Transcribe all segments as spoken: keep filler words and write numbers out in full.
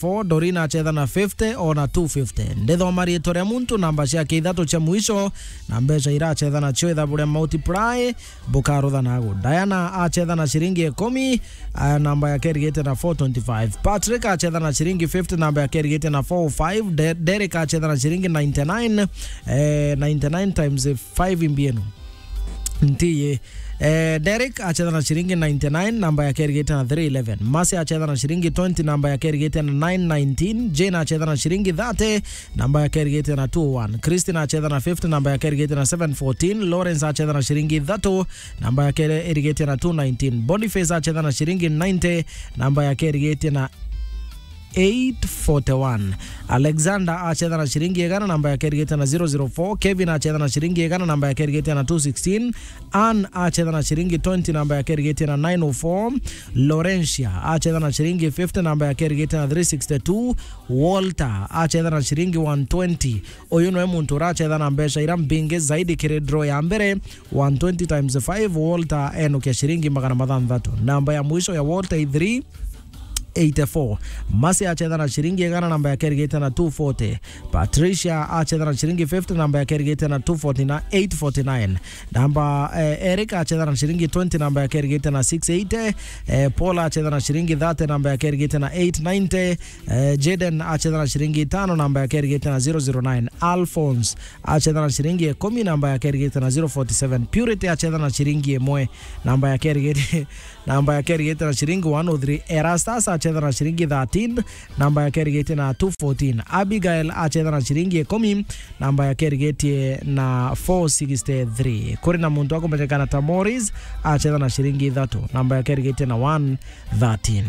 four, Dorina achetha na fifty, ona two fifty. Ndithoma riitwa ria muntu, namba ciake ithatu cia mwisho, na mbeca irachetha nacio ithabu ria multiply, bukarutha nagu. Diana achetha na ciringi ikumi, ah, namba yake irigite na four twenty-five. Patrick achetha na ciringi fifty, namba yake irigite na four oh five. De-, Derek achetha na ciringi ninety-nine, eh, ninety-nine times five imbienu. Ntiye. Eh, Derek achetha na ciringi ninety-nine, namba yake irigite na three eleven. Mercy achetha na ciringi twenty, namba yake irigite na nine nineteen. Jane achetha na ciringi thirty, namba yake irigite na two oh one. Christine achetha na fifty, namba yake irigite na seven fourteen. Lawrence achetha na ciringi ithatu, namba yake irigite na two nineteen. Boniface achetha na ciringi ninety, namba yake irigite na eight forty-one. Alexander achetha na ciringi igana, namba yake irigite na zero zero four. Kevin achetha na ciringi igana, namba yake irigite na two sixteen. Ann achetha na ciringi twenty, namba yake irigite na nine oh four. Laurentia achetha na ciringi fifty, namba yake irigite na three sixty-two. Walter achetha na ciringi one twenty. Uyu niwe muntu urachetha na mbeca ira mbingi zaidi kiri draw ya mbere, one twenty times five. Walter enukia ciringi magana mathanthatu. Namba ya mwisho ya Walter i three eighty-four. Mercy achetha na ciringi igana, namba yake irigite na two forty. Patricia achetha na ciringi fifty, namba yake irigite na two forty na eight forty-nine. Namba, eh, Eric achetha na ciringi twenty, namba yake irigite na six eighty. Eh, Paula achetha na ciringi thirty, namba yake irigite na eight ninety. Eh, Jaden achetha na ciringi itano, namba yake irigite na zero zero nine. Alphonse achetha na ciringi ikumi, namba yake irigite na zero forty-seven. Purity achetha na ciringi imwe, namba yake irigite, namba yake irigite na ciringi one oh three. Erastus achetha na ciringi thirteen, namba yake irigite na two fourteen. Abigail achetha na ciringi ikumi, namba yake irigite na four sixty-three. Kuri na muntu akumenyekana ta Morris, achetha na ciringi ithatu, namba yake irigite na one thirteen.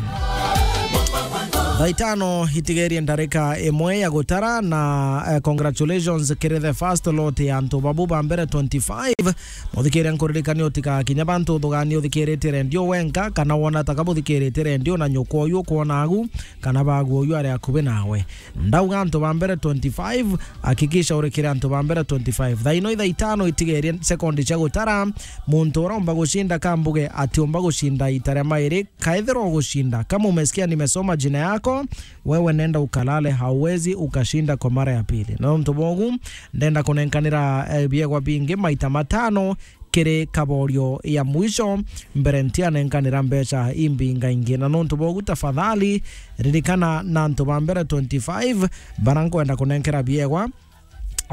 Thaa itano itigerie ndarika imwe ya gutara na, eh, congratulations kiri the first lot ya antu babu ba mbere twenty-five. Muthikiria nkuririkania utigakinya bantu uthugania uthikirite rendio wenka, kana wona taka buthikirite rendio na nyukwa uyu ukwona agu, kana bagu uyu ari akubi nawe. Ndauga antu ba mbere twenty-five, hakikisha urikire antu ba mbere twenty-five. Thaa ino ithaa itano itigerie sekondi cia gutara, muntu uromba gucinda kambuge atiumba gucinda ita ria mairi. Kaethirwa ugucinda, kama umesikia nimesoma jina yako, wewe nenda ukalale, hauwezi ukashinda kwa mara ya pili. Na nontu bogu, ndenda kunenkanira, eh, biegwa bingi maita matano kiri kaborio ya mwisho, mbere ntianenkanira mbeca imbinga ingi. Na nontu bogu, tafadhali ririkana na antu ba mbere twenty-five bara nkwenda kunenkera biegwa.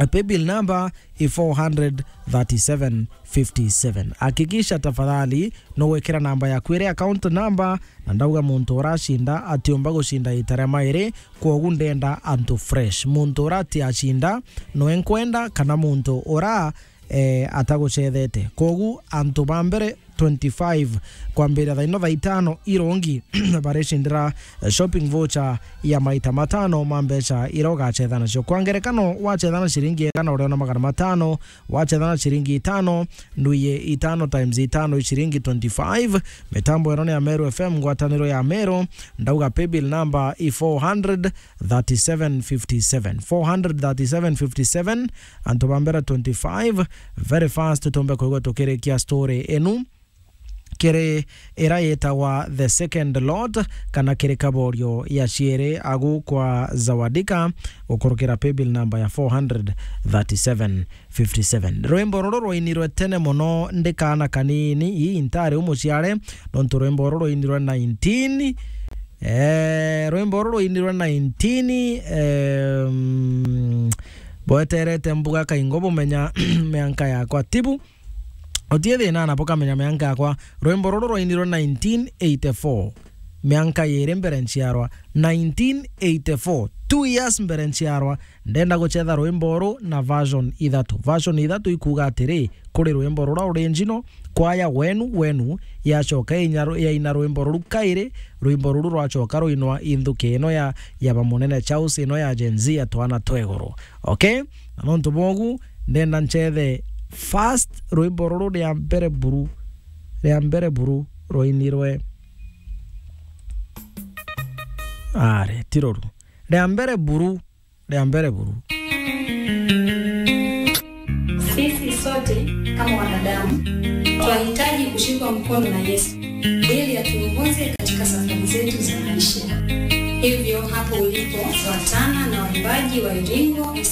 A paybill number i four hundred thirty-seven fifty-seven. Hakikisha tafadhali nugwikira namba yaku iri account number, na ndauga muntu uracinda atiumba gucinda ita ria mairi, kwogu ndenda antu fresh. Muntu ura atiacinda, nwe nkwenda, kana muntu ura, eh, atagucethete. Kwogu antu ba mbere twenty-five, kwambiria thaa ino thaa itano irongi, baricindira, eh, shopping voucher ya maita matano ma mbeca iria ugacetha nacio. Kwa ngerekano, wacetha na ciringi igana uriona magana matano, wacetha na ciringi itano, ndwiye itano times itano i ciringi twenty-five. Mitambo ino ni ya Meru F M, ngwataniro ya Meru, ndauga paybill number i four hundred thirty-seven fifty-seven. Four hundred thirty-seven fifty-seven, antu ba mbere twenty-five. Very fast, tumbe kwigua tukirikia story inu. Kiri ira yitagwa the second lot, kana kiri kaborio ya ciiri agu kwa Zawadika, gukurukira paybill number ya four hundred thirty-seven fifty-seven. Rwimbo ruru rwainirwe tene mono ndi kaana kanini, ii ntari umuciare, nontu rwimbo ruru rwainirwe nineteen, eh, rwimbo ruru rwainirwe nineteen, em, bweterete mbuga kaingo bumenya mianka yakwa tibu. Utie thina na bukamenya mianka yakwa. Rwimbo ruru rwainirwe nineteen eighty-four, mianka yiri mbere nciarwa. Nineteen eighty-four, two years mbere nciarwa. Ndenda gucetha rwimbo uru na version ithatu. Version ithatu ikuuga atiri, kuri rwimbo rura original, kwaya wenu wenu yacoka yainya-, yaina rwimbo ruru kairi, rwimbo ruru rwacoka rwinwa i nthuki ino ya, ya ba munene Charles, ino ya Gen Z, ya twana twa iguru. Okay? Na nontu bogu, ndenda ncethe first rwimbo ruru ria mbere buru, ria mbere buru rwainirwe. Are, ti ruru. Ria mbere buru, ria mbere buru. Sisi sote kama wanadamu twahitaji kushikwa mkono na Yesu ili atuongoze katika safari zetu za maisha. Hivyo hapo ulipo, fuatana na waimbaji wa Iringo